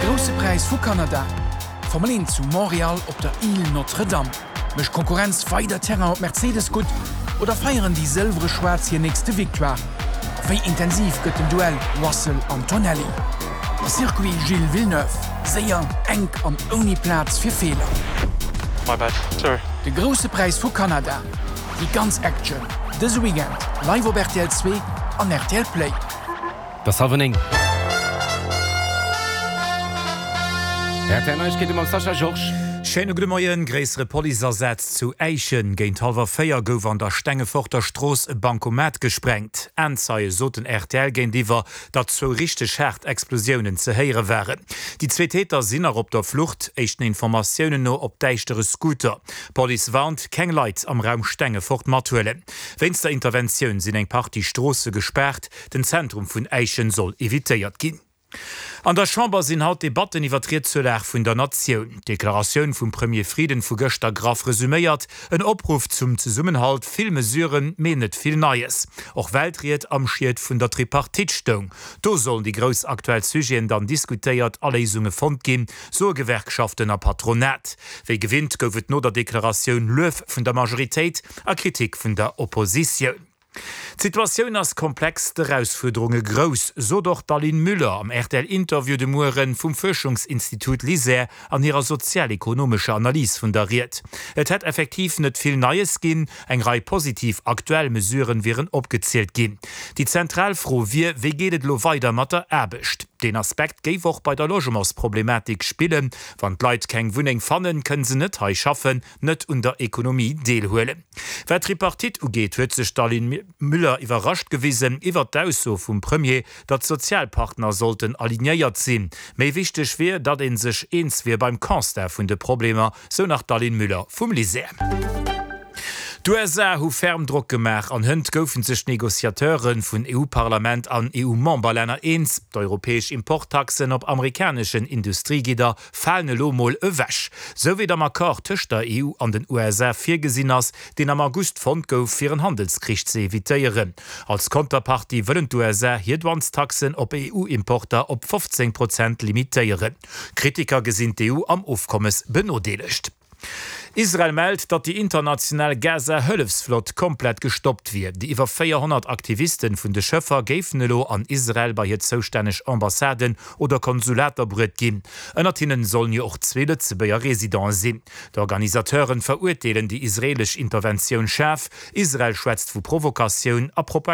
De Grousse Präis vu Kanada, Formel 1 zu Montréal op der Île Notre-Dame. Mécht d'Konkurrenz weider Terrain op Mercedes gutt oder feieren déi Sëlwere-Schwaarz hir nächste Victoire? A wéi intensiv gëtt den Duell Russell-Antonelli? De Circuit Gilles Villeneuve, séier, enk an ouni Plaz fir Feeler. My bad, sorry. De Grousse Präis vu Kanada, déi ganz Action dëse Weekend live op rtl 2 an rtl Play. Et ass hallwer 9. Rtl Neiegkeete mam Sascha Georges. Schéine gudde Moien. Gréissere Policeasaz zu Äischen. Géint hallwer 4 gouf an der Stengeforter Strooss e Bankomat gesprengt. Aenzeie soten rtl géintiwwer, datt zwou richteg haart Explosiounen ze héiere waren. Déi zwee Täter sinn nach op der Flucht, éischten Informatiounen no op däischtere Scooter. D'Police warnt, keng Leit am Raum Stengefort mathuelen. Wéinst der Interventioun sinn eng Partie Stroosse gespaart. Den Zentrum vun Äischen soll evitéiert ginn. An der Chamber sinn haut Debatten iwwer d'Ried zur Lag vun der Natioun. D'Deklaratioun vum Premier Frieden vu gëschter graff resuméiert, en Opruff zum Zesummenhalt, vill Mesuren, mee net vill Neies. Och well d'Ried am Schiet vun der Tripartite stoung. Do sollen déi grouss aktuell Sujeten dann diskutéiert a Léisunge fonnt ginn, soe Gewerkschaften a Patronat. Wéi gewinnt gouf et no der Deklaratioun Luef vun der Majoritéit a Kritik vun der Oppositioun. D'Situatioun ass komplex, d'Erausfuerderunge grouss, sot och d'Aline Müller am RTL-Interview de Muere vum Fuerschungsinstitut LISER an hirer sozialekonomescher Analys vun der Ried. Et hätt effektiv net vill Neies ginn, eng Rei positiv aktuell Mesuren wieren opgezielt ginn. Déi zentral Fro wier, wéi geet et elo weider mat der Aarbecht? Deen Aspekt géif och bei der Logementsproblematik spillen. Wann d'Leit keng Wunneng fannen, kënne se net hei schaffen, net un der Ekonomie deelhuelen. Wat d'Tripartite ugeet, huet sech d'Aline Müller iwwerrascht gewisen iwwert d'Ausso vum Premier, datt d'Sozialpartner sollten alignéiert sinn. Méi wichteg wier, datt ee sech eens wier beim Constat vun de Problemer, sou nach d'Aline Müller vum LISER. D'USA hu ferm Drock gemaach an hënt goufe sech d'Negociateure vun EU-Parlament an EU-Memberlänner eens, D'europäesch Importtaxen op amerikaneschen Industriegidder falen elo mol ewech, sou wéi et am Accord tëscht der EU an den USA virgesinn ass, deen am August fonnt gouf, fir en Handelskrich ze evitéieren. Als Konterpartie wëllen d'USA hir Douanestaxen op EU-Importer op 15 Prozent limitéieren. Kritiker gesinn d'EU am Ofkommes benodeelegt. Israel mellt, datt déi international Gaza-Hëllefsflott komplett gestoppt wier. Déi iwwer 400 Aktivisten vun de Schëffer géifen elo an Israel bei hir zoustänneg Ambassaden oder Konsulater bruet ginn. Ënnert hinnen sollen jo och zwee Lëtzebuerger Residenten sinn. D'Organisateuren verurteelen déi israelesch Interventioun schaarf. Israel schwätzt vu Provokatioun a Propaganda.